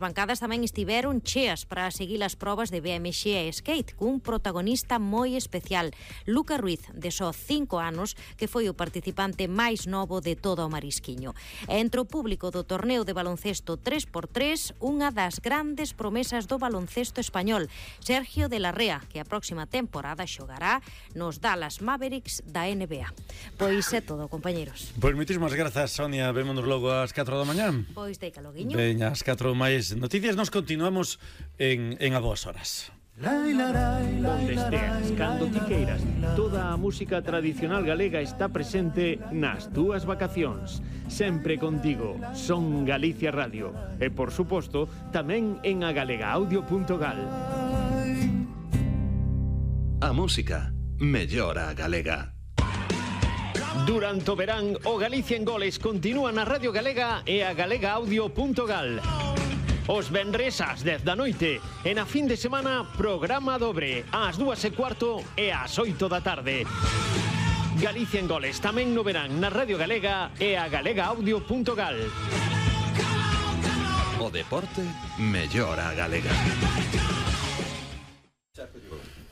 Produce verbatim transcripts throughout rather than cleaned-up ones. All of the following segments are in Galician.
Bancadas tamén estiveron cheas para seguir as probas de B M X e skate, cun protagonista moi especial, Luca Ruiz, de só cinco anos, que foi o participante máis novo de todo o Marisquiño. E entre o público do torneo de baloncesto tres por tres, unha das grandes promesas do baloncesto español, Sergio de la Rea, que a próxima temporada xogará nos Dallas Mavericks da N B A. Pois é todo, compañeros. Pois moitísimas grazas, Sonia. Vémonos logo ás catro da mañá. Pois deica loguiño. Veña, ás catro máis noticias. Nos continuamos en, en a boas horas. Onde esteas, cando ti queiras, toda a música tradicional galega está presente nas túas vacacións. Sempre contigo, Son Galicia Radio. E, por suposto, tamén en agalegaaudio punto gal. A música mellora a galega. Durante o verán, o Galicia en Goles continúa na Radio Galega e a agalegaaudio punto gal. Os venres ás dez da noite e na fin de semana programa dobre ás dúas e cuarto e ás oito da tarde. Galicia en Goles tamén no verán na Radio Galega e a agalegaaudio punto gal. O deporte mellora a galega.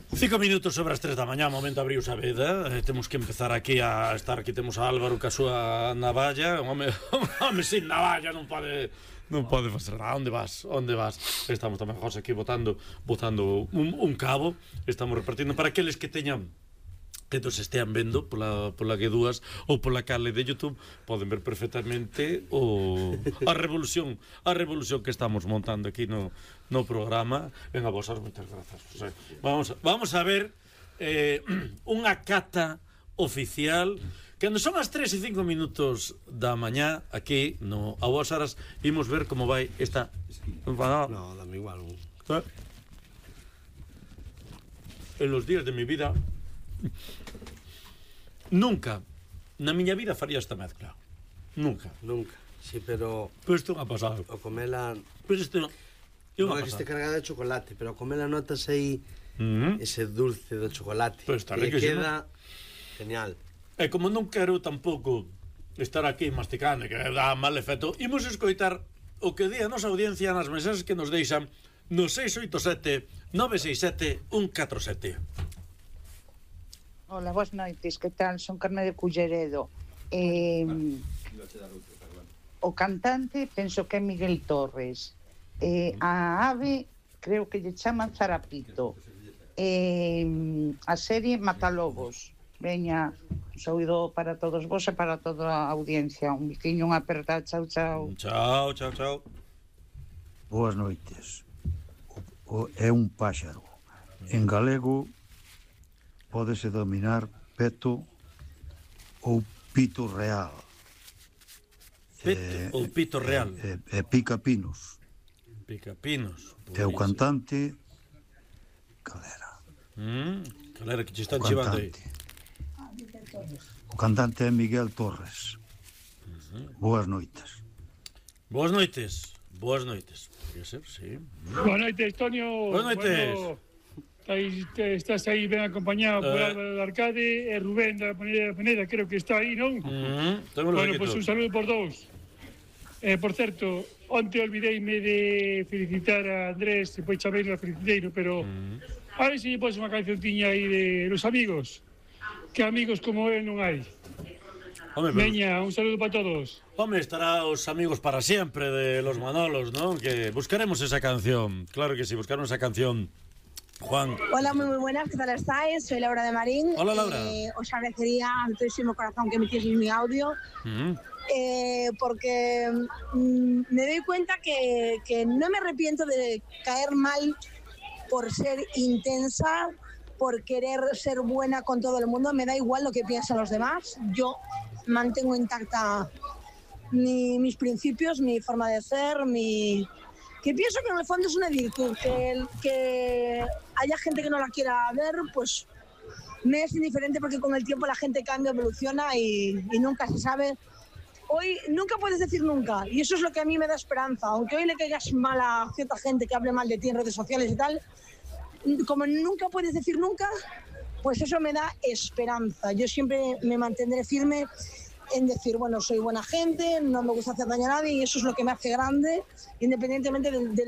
Cinco minutos sobre as tres da mañá, momento abriu a veda. eh, Temos que empezar aquí a estar. Aquí temos a Álvaro ca súa navalla. Un home, un home sin navalla non pode Non pode facer nada. Onde vas? Onde vas? Estamos tamén, José, aquí botando Botando un, un cabo. Estamos repartindo para aqueles que teñan que nos estean vendo pola, pola G dúas ou pola canle de YouTube, poden ver perfectamente o, a revolución a revolución que estamos montando aquí no, no programa. Venga, vos, moitas grazas, José. Vamos, vamos a ver eh, unha cata oficial. Cando son as tres e cinco minutos da mañá, aquí no a boas horas, imos ver como vai esta. No, dame igual. En los días de mi vida nunca na miña vida faría esta mezcla. Nunca. Nunca. Sí, pero Pero isto non ha pasado. o comela Pero isto non non é que este cargada de chocolate, pero o comela notas aí mm-hmm. ese dulce do chocolate. Pero está que riquísimo. queda genial. E como non quero tampouco estar aquí masticando, que dá mal efecto, imos escoitar o que di a nosa audiencia nas mensaxes que nos deixan no seis oito sete nove seis sete un catro sete. Hola, boas noites, que tal? Son Carme de Culleredo. Eh, o cantante penso que é Miguel Torres. Eh, a ave creo que lle chaman Zarapito. Eh, a serie Matalobos. Veña, un saúdo para todos vos e para toda a audiencia. Un biquiño, unha aperta, chao, chao. Chao, chao, chao. Boas noites. O, o, é un páxaro. En galego pódese dominar peto ou pito real. Peto eh, ou pito real. E eh, eh, pica pinos. Pica pinos. E o cantante calera. Mm, calera que che están chivando aí. O cantante é Miguel Torres. Uh-huh. Boas noites. Boas noites. Boas noites. Podría ser, sí. Boas noites, Tonio. Boas noites. Bueno, estás aí ben acompañado por uh. Álvaro de Arcade e Rubén da Peneda, Peneda, creo que está aí, non? Uh-huh. Bueno, pois pues un saludo por dous. Eh, por certo, onte olvideime de felicitar a Andrés, e pois chaveiro a feliciteiro, pero uh-huh. a ver se lle pos unha canciontiña aí de Los Amigos. Que amigos como él non hai. Home, pero... Veña, un saludo para todos. Home, estará os amigos para siempre de los Manolos, ¿no? Que buscaremos esa canción. Claro que sí, buscaremos esa canción. Juan. Hola, muy muy buenas, ¿qué tal estáis? Soy Laura de Marín. Hola, Laura. Eh, os agradecería de todísimo corazón que emitieseis mi audio. Uh-huh. Eh, porque mm, me doy cuenta que, que no me arrepiento de caer mal por ser intensa, por querer ser buena con todo el mundo. Me da igual lo que piensan los demás. Yo mantengo intacta mi, mis principios, mi forma de ser, mi... que pienso que en el fondo es una virtud. Que, que haya gente que no la quiera ver, pues me es indiferente, porque con el tiempo la gente cambia, evoluciona y, y nunca se sabe. Hoy nunca puedes decir nunca, y eso es lo que a mí me da esperanza. Aunque hoy le caigas mal a cierta gente que hable mal de ti en redes sociales y tal, como nunca puedes decir nunca, pues eso me da esperanza. Yo siempre me mantendré firme en decir, bueno, soy buena gente, no me gusta hacer daño a nadie y eso es lo que me hace grande, independientemente del, del